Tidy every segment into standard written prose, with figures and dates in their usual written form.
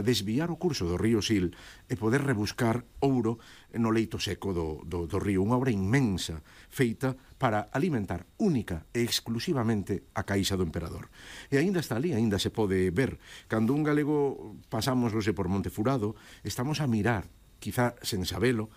desviar o curso do río Sil e poder rebuscar ouro no leito seco do río. Unha obra inmensa feita para alimentar única e exclusivamente a caixa do emperador. E aínda está ali, aínda se pode ver. Cando un galego pasamos por Montefurado, estamos a mirar, quizá sen sabelo,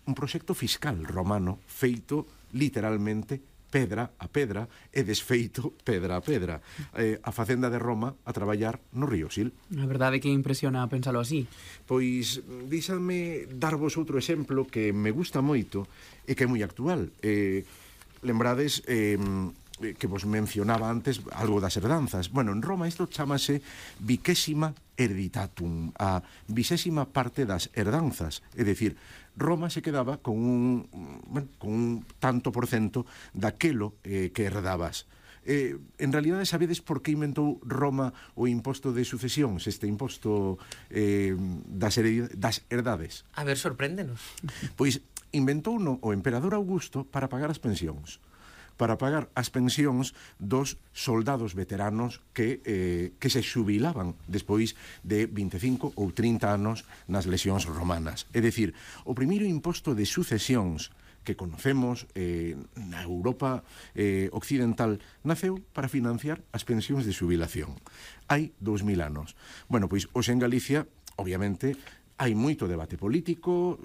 un proxecto fiscal romano feito literalmente pedra a pedra e desfeito pedra a pedra. A facenda de Roma a traballar no río Sil. A verdade que impresiona pensalo así. Pois, díxame darvos outro exemplo que me gusta moito e que é moi actual. Lembrades que vos mencionaba antes algo das herdanzas. Bueno, en Roma isto chamase vicésima hereditatum, a 20ª parte das herdanzas. É dicir, Roma se quedaba con un tanto por cento daquelo que herdabas. En realidade, sabedes por que inventou Roma o imposto de sucesións, este imposto das herdades? A ver, sorpréndenos. Pois inventouno o emperador Augusto para pagar as pensións, para pagar as pensións dos soldados veteranos que se xubilaban despois de 25 ou 30 anos nas lexións romanas. É dicir, o primeiro imposto de sucesións que conocemos na Europa occidental naceu para financiar as pensións de xubilación. Hai 2000 anos. Bueno, pois, hoxe en Galicia, obviamente, hai moito debate político,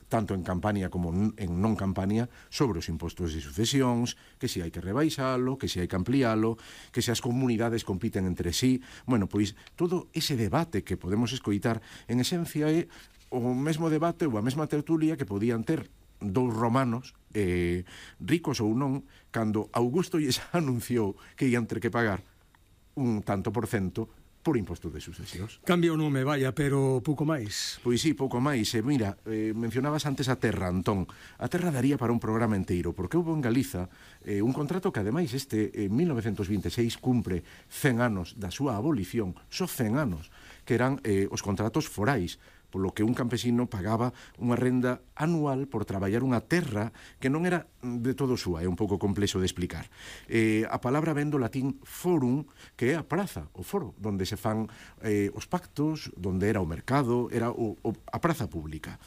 tanto en Campania como en non Campania, sobre os impostos de sucesións, que se hai que rebaixalo, que se hai que amplialo, que se as comunidades compiten entre sí. Bueno, pois, todo ese debate que podemos escoitar, en esencia, é o mesmo debate ou a mesma tertulia que podían ter dous romanos, ricos ou non, cando Augusto lles anunciou que ian ter que pagar un tanto por cento por impostos de sucesións. Cambia o nome, vaya, pero pouco máis. Pois sí, pouco máis. Mira, mencionabas antes a terra, Antón. A terra daría para un programa enteiro, porque houve en Galiza un contrato que, ademais, en 1926 cumpre 100 anos da súa abolición, só 100 anos, que eran os contratos forais, polo que un campesino pagaba unha renda anual por traballar unha terra que non era de todo súa, é un pouco complexo de explicar. A palabra vén do latín forum, que é a praza, o foro, donde se fan os pactos, donde era o mercado, era a praza pública.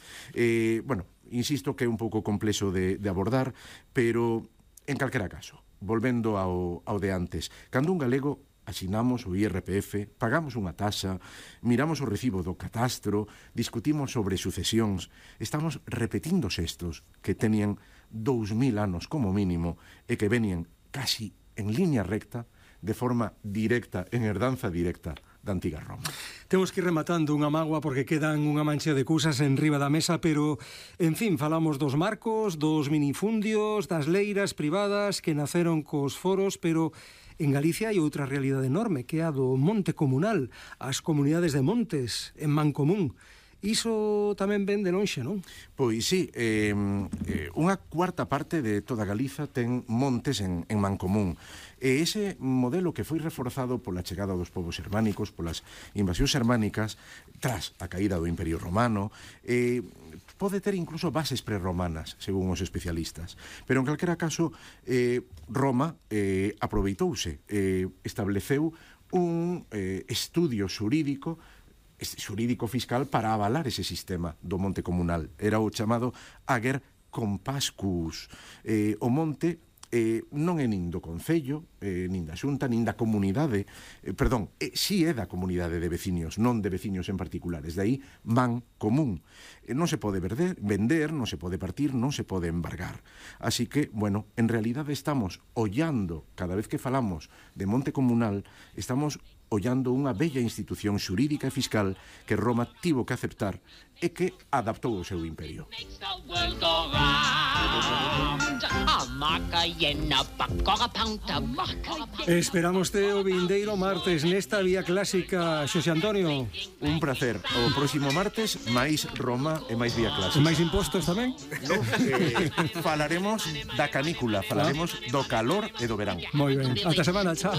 Bueno, insisto que é un pouco complexo de abordar, pero en calquera caso, volvendo ao de antes, cando un galego asinamos o IRPF, pagamos unha taxa, miramos o recibo do catastro, discutimos sobre sucesións, estamos repetindo xestos que tenían 2000 anos como mínimo e que venían casi en línea recta, de forma directa, en herdanza directa da antiga Roma. Temos que ir rematando unha mágoa porque quedan unha mancha de cousas en riba da mesa, pero, en fin, falamos dos marcos, dos minifundios, das leiras privadas que naceron cos foros, pero en Galicia hai outra realidade enorme, que é a do monte comunal, as comunidades de montes en mancomún. Iso tamén ven de lonxe, non? Pois sí, unha cuarta parte de toda Galiza ten montes en mancomún. E ese modelo que foi reforzado pola chegada dos povos xermánicos, polas invasións xermánicas, tras a caída do Imperio Romano, pode ter incluso bases prerromanas, según os especialistas. Pero en calquera caso, Roma aproveitouse, estableceu un estudio xurídico fiscal para avalar ese sistema do monte comunal. Era o chamado ager compascus. O monte non é nin do concello, nin da xunta, nin da comunidade, si é da comunidade de veciños, non de veciños en particulares, de aí man común. Non se pode vender, non se pode partir, non se pode embargar. Así que, bueno, en realidade estamos ollando, cada vez que falamos de monte comunal, estamos ollando unha bella institución xurídica e fiscal que Roma tivo que aceptar e que adaptou o seu imperio. Esperamos o vindeiro martes nesta Vía Clásica, Xosé Antonio. Un placer. O próximo martes, máis Roma e máis Vía Clásica. E máis impostos tamén? No, falaremos da canícula, falaremos do calor e do verán. Moi ben. Ata semana, chao.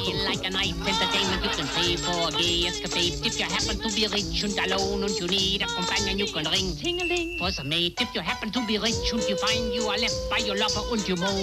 For a gay escapade. If you happen to be rich and alone and you need a companion, you can ring ting-a-ling for some mate. If you happen to be rich and you find you are left by your lover and you moan.